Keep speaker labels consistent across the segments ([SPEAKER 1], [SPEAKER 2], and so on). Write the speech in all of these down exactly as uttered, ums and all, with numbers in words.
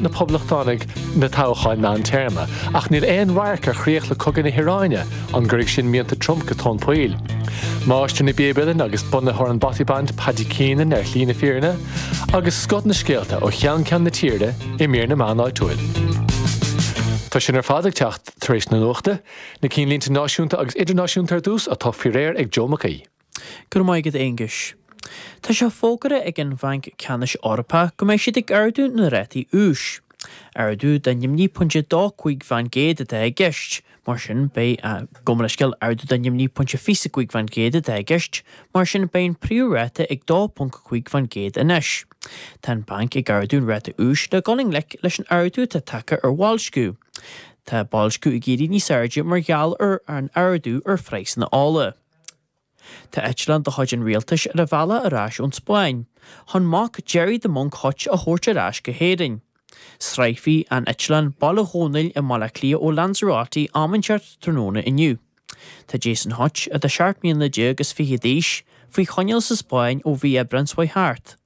[SPEAKER 1] na Poblachtánaigh na toghcháin meántéarma, ach níl aon radharc ar chríoch le cogadh na hIaráine, an gcuirfidh sin mianta Trump go tóin poill. Máistir na bpíob uilleann agus bunaitheoir an Bothy Band Paddy Keenan ar shlí na fírinne, agus scoth na scéalta ó cheann ceann na tíre i mír na meán áitiúil. Tá sin ar fad ag teacht tar éis na nuachta, na cinnlínte náisiúnta agus idirnáisiúnta ar dtús atá faoi réir ag Joe McKee.
[SPEAKER 2] Go maith agat Aonghus. Tá sé fógartha ag an Bhanc Ceannais Eorpach go mbeidh siad ag ardú na rátaí úis. Ardú de naoi pointe dó cúig faoin gcéad atá i gceist, mar sin beidh gabh mo leithscéal ardú de naoi pointe fiche cúig faoin gcéad atá i gceist, mar sin beidh an príomhráta ag dó ponc cúig faoin gcéad anois. Tá an banc ag ardú an ráta úis le dul i ngleic leis an ardú atá tagtha ar bhoilsciú. Tá boilsciú ag éirí níos airde mar gheall ar an ardú ar phraghsanna ola. Tá eitleán de chuid an rialtais ar a bhealach ar ais ón Spáinn, chun mac Gerry the Monk Hutch a thabhairt ar ais go hÉirinn. Sroichfidh an eitleán Baile Dhónaill i mBaile Átha Cliath ó Lanzarote am inteacht tráthnóna inniu. Tá Jason Hutch atá seacht mbliana déag is fiche d'aois faoi choinneáil sa Spáinn ó mhí Aibreáin seo thart.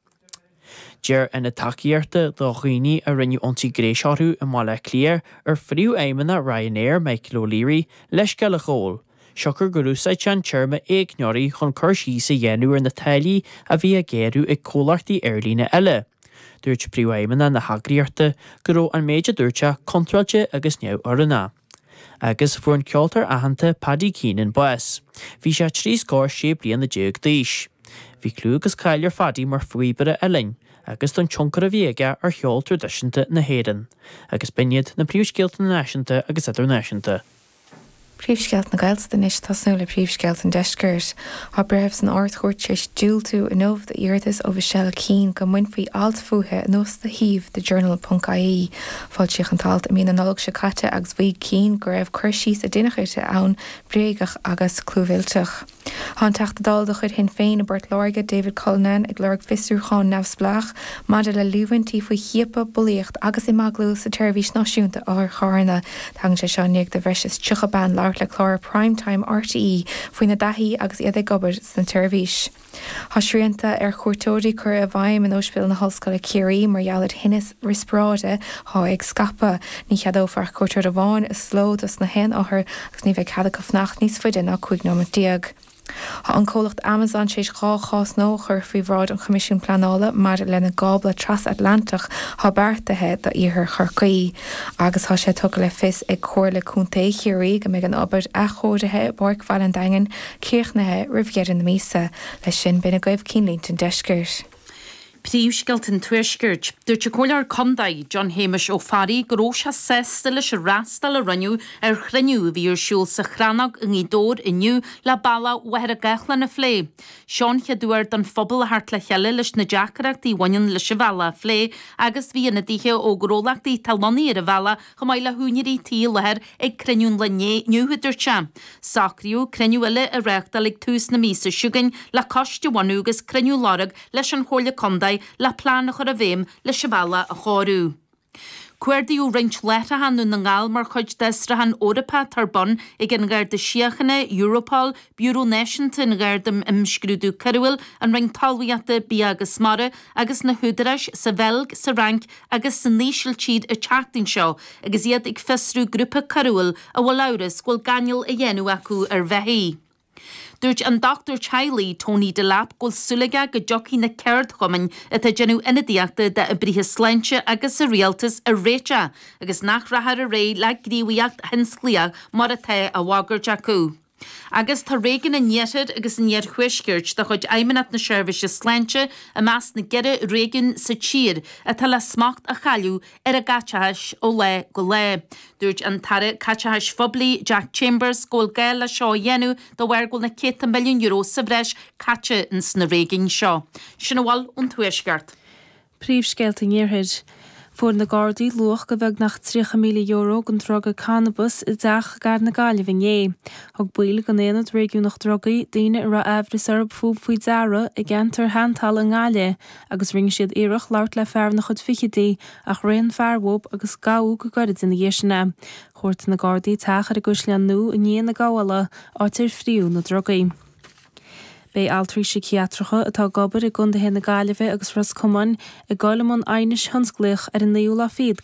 [SPEAKER 2] Deir ionad tacaíochta do dhaoine a rinneadh ionsaí gnéis orthu i mBaile Átha Cliath ar phríomhfheidhmeannach Ryanair Michael O'Leary leithscéal a ghabháil, siocair gur úsáid sé an téarma éigneoirí chun cur síos a dhéanamh ar na táillí a bhí á ngearradh ag comhlachtaí aerlíne eile. Dúirt príomhfheidhmeannach na heagraíochta go raibh an méid a dúirt sé contráilte agus neamhoiriúnach. Agus fuair an ceoltóir aitheanta Paddy Keenan bás. Bhí sé trí scór sé bliana déag d'aois. Bhí clú agus cáil ar Phaddy mar phíobaire uilleann, agus don tionchar a bhí aige ar cheol traidisiúnta na hÉireann, agus b'in iad na príomhscéalta náisiúnta agus idirnáisiúnta.
[SPEAKER 3] Príomhscéalta na Gaeltachta anois tosnú le príomhscéalta an deiscirt. Tá breitheamh san Ard-Chúirt tar éis diúltú inniu d'iarratas ó Michelle Keane go mbainfí alt fúithi anuas de shuíomh The Journal.ie. Foilsíodh an t-alt i mí na Nollag seo caite agus mhaígh Keane go raibh cur síos a deineadh uirthi ann bréagach agus clúmhillteach. Tá an Teachta Dála de chuid Shinn Féin i bPort Láirge David Cullinane ag lorg fiosrúchán neamhspleách maidir le líomhaintí faoi chiapadh, bulaíocht agus imeaglú sa tseirbhís náisiúnta otharcharranna. Tagann sé seo i ndiaidh do bhreis is tríocha bean labhairt le clár Primetime RTÉ faoina dtaithí agus iad ag obair sna tseirbhís. Tá srianta ar chuairteoirí curtha i bhfeidhm in Ospidéal na hOllscoile Ciarraí mar gheall ar thinneas riospráide atá ag scaipeadh. Ní cheadófar ach cuairteoir amháin is ló dos na haon othar agus ní bheidh cead acu fanacht níos faide ná cúig nóiméad déag. Tá an comhlacht Amazon tar éis dhá chás nua a chur faoi bhráid an Choimisiúin Pleanála maidir lena gcábla trasatlantach atá beartaithe d'iarthar Chorcaí. Agus tá sé tugtha le fios ag Comhairle Contae Chiarraí go mbeidh an obair athchóirithe i bPáirc Bhaile an Daingin críochnaithe roimh dheireadh na míosa. Leis sin b'in agaibh cinnlínte an deiscirt.
[SPEAKER 4] Príomhscéalta an Tuaiscirt. Dúirt an Comhairleoir Contae John Shéamuis Ó Fearraigh go raibh sé sásta leis an fhreastal a rinneadh ar chruinniú a bhí ar siúl sa Chrannóg i nGaoth Dobhair inniu le bealach Mhachaire Gathlán a phlé. Seo an chéad uair don phobal a theacht le chéile leis na deacrachtaí a bhaineann leis an bhealach a phlé agus bhí ionadaithe ó ghnólachtaí atá lonnaithe ar an bhealach chomh maith le húinéirí tí i láthair ag cruinniú an lae inniu a dúirt sé. Socraíodh cruinniú eile a reáchtáil ag tús na míosa seo chugainn le coiste a bhunú agus cruinniú a lorg leis an Chomhairle Contae le plean a chur i bhfeidhm leis an bhealach a chóiriú. Cuardaíodh roinnt láithreacha i nDún na nGall mar chuid d'fhiosrúchán Eorpach atá ar bun ag an Gharda Síochána, Europol, Biúró Náisiúnta an Gharda um Imscrúdú Coiriúil, an Roinn Talmhaíochta, Bia agus Mara agus na húdaráis sa Bheilg, sa Fhrainc agus san Ísiltír an tseachtain seo agus iad ag fiosrú grúpa coiriúil a bhfuil amhras go bhfuil gáinneáil á dhéanamh acu ar bheithígh. Dúirt an dochtúir teaghlaigh Tony Delap go bhfuil súil aige go dtiocfaidh na ceardchumainn atá ag déanamh ionadaíochta d'oibrithe sláinte agus sa rialtas ar réiteach agus nach rachfar ar aghaidh le gníomhaíocht thionsclaíoch mar atá á bhagairt acu. Agus tá réigiún an Iarthair agus an Iarthuaiscirt de chuid Fheidhmeannacht na Seirbhíse Sláinte i measc na gceithre réigiún sa tír atá le smacht a chailleadh ar a gcaiteachais ó lá go lá. Dúirt an tAire Caiteachais Phoiblí Jack Chambers go bhfuil gá le seo a dhéanamh de bharr go bhfuil na céadta milliún euro sa bhreis caite ins na réigiúin seo. Sin a bhfuil ón Tuaisceart.
[SPEAKER 5] Príomhscéalta an Iarthair. Fuair na Gardaí luach de bheagnach tríocha míle euro den druga cannabas i dteach gar na Gaillimhe inné. Thug baill den Aonad Réigiúnach Drugaí daoine a raibh amhras orthu fúthu faoi deara i gceantar Sheantal i nGaillimh agus rinne siad iarracht labhairt le fear ina chuid fichidí ach rith an fear uathu agus gabhadh go gairid ina dhiaidh sin é. Chuartaigh na Gardaí teach ar an gCaisleán Nua i ndiaidh na gabhála, áit ar fríodh na drugaí. Beidh altraí síciatracha atá ag obair i gcontaetha na Gaillimhe agus Ros Comáin ag dul i mbun aighnis thionsclaíoch ar an naoú lá fichead